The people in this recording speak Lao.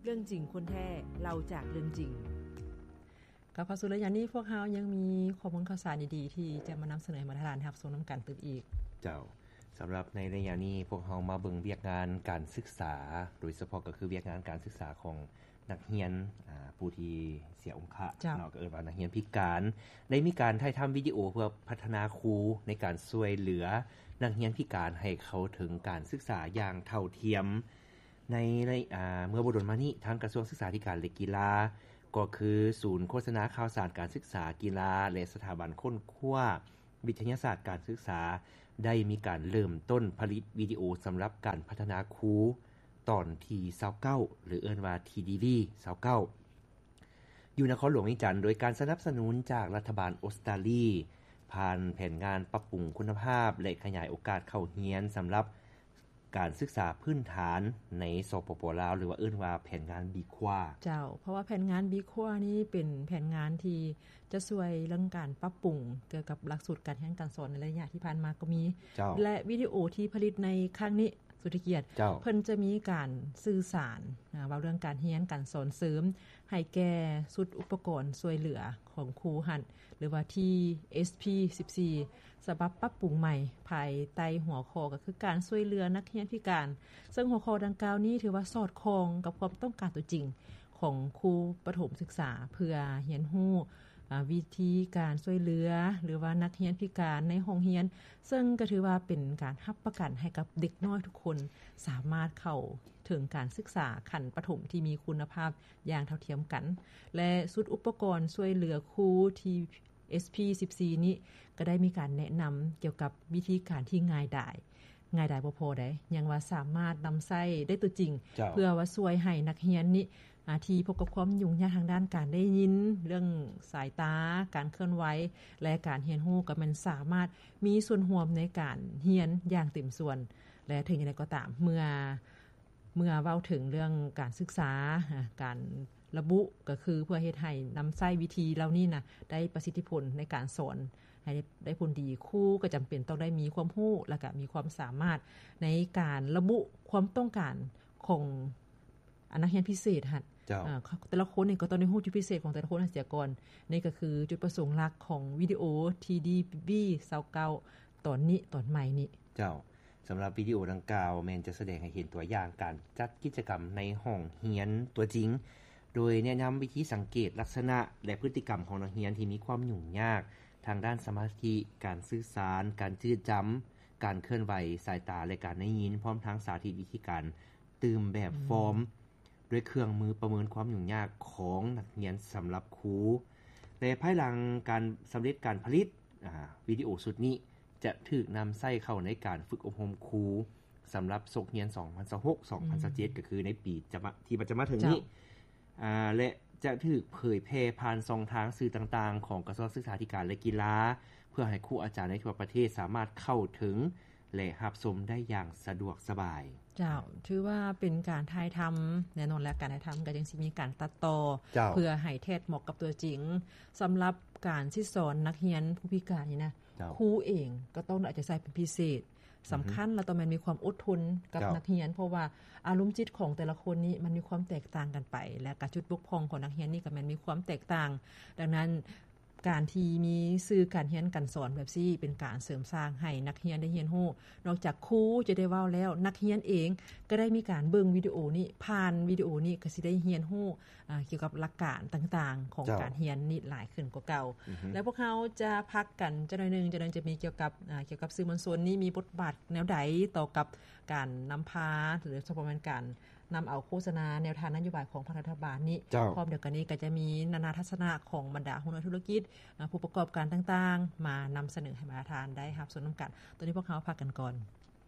ເລື່ອງຈິງຄົນແທ້ ເລົ່າຈາກເລື່ອງຈິງ. ກັບເຂົ້າສູ່ໄລຍະນີ້ ພວກເຮົາຍັງມີຂໍ້ມູນຂ່າວສານດີໆ ທີ່ຈະມານຳສະເໜີໃຫ້ບັນດາທ່ານຮັບຊົມນຳກັນຕື່ມອີກ. ເຈົ້າ, ສຳລັບໃນໄລຍະນີ້ ພວກເຮົາມາເບິ່ງວຽກງານການສຶກສາ, ໂດຍສະເພາະກໍຄືວຽກງານການສຶກສາຂອງ ນັກຮຽນ ອາ ຜູ້ທີ່ເສຍອົງຄະ ເຈົ້າ ເນາະ ກໍເອີ້ນວ່ານັກຮຽນພິການ ໄດ້ມີການຖ່າຍທຳວິດີໂອເພື່ອພັດທະນາຄູໃນການຊ່ວຍເຫຼືອນັກຮຽນພິການໃຫ້ເຂົ້າເຖິງການສຶກສາຢ່າງເທົ່າທຽມ. ໃນໄລ ອາ ເມື່ອບໍ່ດົນມານີ້ ທາງກະຊວງສຶກສາທິການ ແລະ ກິລາ ກໍຄືສູນໂຄສະນາຂ່າວສານການສຶກສາ, ກິລາ ແລະ ສະຖາບັນຄົ້ນຄວ້າ ວິທະຍາສາດການສຶກສາ ໄດ້ມີການເລີ່ມຕົ້ນຜະລິດວິດີໂອສຳລັບການພັດທະນາຄູຕອນທີຊາວເກົ້າ ຫຼື ເອີ້ນວ່າ ທີດີວີ ຊາວເກົ້າ ຢູ່ນະຄອນຫຼວງວຽງຈັນ ໂດຍການສະໜັບສະໜູນຈາກລັດຖະບານອົດສະຕາລີ ຜ່ານແຜນງານປັບປຸງຄຸນນະພາບ ແລະ ຂະຫຍາຍໂອກາດເຂົ້າຮຽນສຳລັບ ການສຶກສາພື້ນຖານໃນ ສປປ ລາວ ຫຼືວ່າເອີ້ນວ່າແຜນງານບີຄວ້າ. ເຈົ້າ, ເພາະວ່າແຜນງານບີຄວ້ານີ້ເປັນແຜນງານທີ່ຈະຊ່ວຍເລື່ອງການປັບປຸງກ່ຽວກັບຫຼັກສູດການຮຽນການສອນໃນໄລຍະທີ່ຜ່ານມາກໍມີ. ເຈົ້າ. ແລະ ວິດີໂອທີ່ຜະລິດໃນຄັ້ງນີ້ ສຸດທິກຽດ ເຈົ້າ. ເພິ່ນຈະມີການສື່ສານ ອາ ເວົ້າເລື່ອງການຮຽນການສອນເສີມ ໃຫ້ແກ່ຊຸດອຸປະກອນຊ່ວຍເຫຼືອຂອງຄູຫັ້ນ ຫຼືວ່າ ທີເອັສພີສິບສີ່ ສະບັບປັບປຸງໃໝ່ ພາຍໃຕ້ຫົວຂໍ້ກໍຄືການຊ່ວຍເຫຼືອນັກຮຽນພິການ, ເຊິ່ງຫົວຂໍ້ດັ່ງກ່າວນີ້ຖືວ່າສອດຄ່ອງກັບຄວາມຕ້ອງການຕົວຈິງຂອງຄູປະຖົມສຶກສາ ເພື່ອຮຽນຮູ້ ອາ ວິທີການຊ່ວຍເຫຼືອ ຫຼືວ່ານັກຮຽນພິການໃນຫ້ອງຮຽນ, ເຊິ່ງກໍຖືວ່າເປັນການຮັບປະກັນໃຫ້ກັບເດັກນ້ອຍທຸກຄົນສາມາດເຂົ້າເຖິງການສຶກສາຂັ້ນປະຖົມທີ່ມີຄຸນນະພາບຢ່າງເທົ່າທຽມກັນ ແລະ ຊຸດອຸປະກອນຊ່ວຍເຫຼືອຄູ ທີ ເອັສພີສິບສີ່ນີ້ກໍໄດ້ມີການແນະນຳກ່ຽວກັບວິທີການທີ່ງ່າຍດາຍ, ງ່າຍດາຍບໍ່ພໍໃດ, ຍັງວ່າສາມາດນຳໃຊ້ໄດ້ຕົວຈິງ ເຈົ້າ. ເພື່ອວ່າຊ່ວຍໃຫ້ນັກຮຽນນີ້ ອາ ທີ່ພົບກັບຄວາມຫຍຸ້ງຍາກທາງດ້ານການໄດ້ຍິນ, ເລື່ອງສາຍຕາ, ການເຄື່ອນໄຫວ ແລະ ການຮຽນຮູ້ ກໍແມ່ນສາມາດມີສ່ວນຮ່ວມໃນການຮຽນຢ່າງເຕັມສ່ວນ ແລະ ເຖິງຢ່າງໃດກໍຕາມ ເມື່ອ ເມື່ອເວົ້າເຖິງເລື່ອງການສຶກສາ, ການລະບຸກໍຄືເພື່ອເຮັດໃຫ້ນຳໃຊ້ວິທີເຫຼົ່ານີ້ນະ ໄດ້ປະສິດທິຜົນໃນການສອນໃຫ້ໄດ້ ໄດ້ຜົນດີ. ຄູກໍຈຳເປັນຕ້ອງໄດ້ມີຄວາມຮູ້ ແລະ ກະມີຄວາມສາມາດໃນການລະບຸຄວາມຕ້ອງການຂອງ ອັນ ນັກຮຽນພິເສດຫັ້ນ. ເຈົ້າ. ອາ ແຕ່ລະຄົນນີ້ກໍຕ້ອງໄດ້ຮູ້ຈຸດພິເສດຂອງແຕ່ລະຄົນຫັ້ນເສຍກ່ອນ. ນີ້ກໍຄືຈຸດປະສົງຫຼັກຂອງວິດີໂອ ທີດີວີຊາວເກົ້າ ຕອນນີ້ ຕອນໃໝ່ນີ້. ເຈົ້າ. ສຳລັບວິດີໂອດັ່ງກ່າວແມ່ນຈະສະແດງໃຫ້ເຫັນຕົວຢ່າງການຈັດກິດຈະກຳໃນຫ້ອງຮຽນຕົວຈິງ, ໂດຍແນະນຳວິທີສັງເກດລັກສະນະ ແລະ ພຶດຕິກຳຂອງນັກຮຽນທີ່ມີຄວາມຫຍຸ້ງຍາກທາງດ້ານສະມາທິ, ການສື່ສານ, ການຈື່ຈຳ, ການເຄື່ອນໄຫວ, ສາຍຕາ ແລະ ການໄດ້ຍິນ, ພ້ອມທັງສາທິດວິທີການຕື່ມແບບຟອມ ດ້ວຍເຄື່ອງມືປະເມີນຄວາມຫຍຸ້ງຍາກຂອງນັກຮຽນສຳລັບຄູ. ແລະ ພາຍຫຼັງການສຳເລັດການຜະລິດ, ອາ, ວິດີໂອຊຸດນີ້ຈະຖືກນຳໃຊ້ເຂົ້າໃນການຝຶກອົບຮົມຄູສຳລັບສົກຮຽນສອງພັນຊາວຫົກ ສອງພັນຊາວເຈັດ ອືມ ກໍຄືໃນປີຈະມາ, ທີ່ຈະມາເຖິງນີ້. ເຈົ້າ. ອາ ແລະ ຈະຖືກເຜີຍແຜ່ຜ່ານຊ່ອງທາງສື່ຕ່າງໆຂອງກະຊວງສຶກສາທິການ ແລະ ກິລາ ເພື່ອໃຫ້ຄູອາຈານໃນທົ່ວປະເທດສາມາດເຂົ້າເຖິງ ແລະ ຮັບຊົມໄດ້ຢ່າງສະດວກສະບາຍ. ເຈົ້າ, ຖືວ່າເປັນການຖ່າຍທຳ, ແນ່ນອນແລ້ວ ການຖ່າຍທຳກໍຍັງຊິມີການຕັດຕໍ່ ເຈົ້າ ເພື່ອໃຫ້ແທດເໝາະກັບຕົວຈິງ. ສຳລັບການສິດສອນນັກຮຽນຜູ້ພິການນີ້ນະ, ເຈົ້າ ຄູເອງກໍຕ້ອງໄດ້ເອົາໃຈໃສ່ເປັນພິເສດ. ສຳຄັນ ແລ້ວຕ້ອງແມ່ນມີຄວາມອົດທົນກັບ ເຈົ້າ ນັກຮຽນ, ເພາະວ່າອາລົມຈິດຂອງແຕ່ລະຄົນນີ້ມັນມີຄວາມແຕກຕ່າງກັນໄປ ແລະ ກະຈຸດບົກຜ່ອງຂອງນັກຮຽນນີ້ກໍແມ່ນມີຄວາມແຕກຕ່າງ. ດັ່ງນັ້ນ ການທີ່ມີສື່ການຮຽນການສອນແບບຊີ້ ເປັນການເສີມສ້າງໃຫ້ນັກຮຽນໄດ້ຮຽນຮູ້. ນອກຈາກຄູຈະໄດ້ເວົ້າແລ້ວ, ນັກຮຽນເອງກໍໄດ້ມີການເບິ່ງວິດີໂອນີ້, ຜ່ານວິດີໂອນີ້ກໍຊິໄດ້ຮຽນຮູ້ ອາ ກ່ຽວກັບຫຼັກການຕ່າງໆຂອງ ເຈົ້າ ການຮຽນນີ້ຫຼາຍຂຶ້ນກວ່າເກົ່າ. ອືຮຶ. ແລ້ວພວກເຮົາຈະພັກກັນຈັກໜ້ອຍໜຶ່ງ, ຈັກໜ້ອຍຈະມີກ່ຽວກັບ ອາ ກ່ຽວກັບສື່ມວນຊົນນີ້ມີບົດບາດແນວໃດຕໍ່ກັບການນຳພາ ຫຼື ສະເພາະແມ່ນການ ນຳເອົາໂຄສະນາແນວທາງນະໂຍບາຍຂອງພັກລັດຖະບານນີ້. ເຈົ້າ. ພ້ອມດຽວກັນນີ້ກໍຈະມີນານາທັດສະນະຂອງບັນດາຫົວໜ່ວຍທຸລະກິດ, ອາ ຜູ້ປະກອບການຕ່າງໆ ມານຳສະເໜີໃຫ້ບັນດາທ່ານໄດ້ຮັບຊົມນຳກັນ. ຕອນນີ້ພວກເຮົາພັກກັນກ່ອນ.